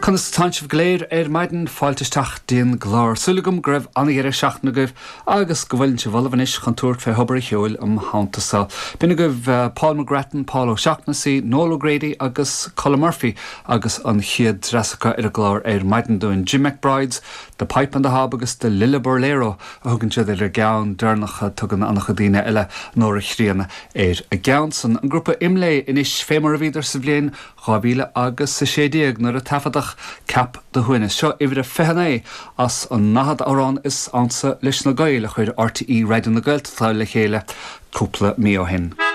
Conas atánn sibh go léir ar maidin? Fáilte isteach dtí'n gclár. Súil agam go raibh an-dheireadh seachtaine agaibh agus go bhfuileann sibh ullamh anois chun tabhairt fé thobar an cheoil um theannta so. B'in agaibh Paul McGrattan, Paul O'Shaughnessy, Noel O'Grady agus Colm Murphy agus an chéad dreas acu ar an gclár ar maidin dúinn. Jim McBride's The Pipe and the Hob agus The Lilliburlero a thugann siad ar an gceann deireanach. Tugann an-chuid daoine eile Nóra Chríonna ar an gceann san. An grúpa Imlé anois fé mar a bhíodar sa bhliain 2000 agus 16 nuair a taifeadadh Ceap do Shuaimhneas. Seo uimhir a 29 as an ndaichead amhrán is ansa leis na Gaeil a chuir RTÉ Raidió na Gaeltachta le chéile cúpla mí ó shin.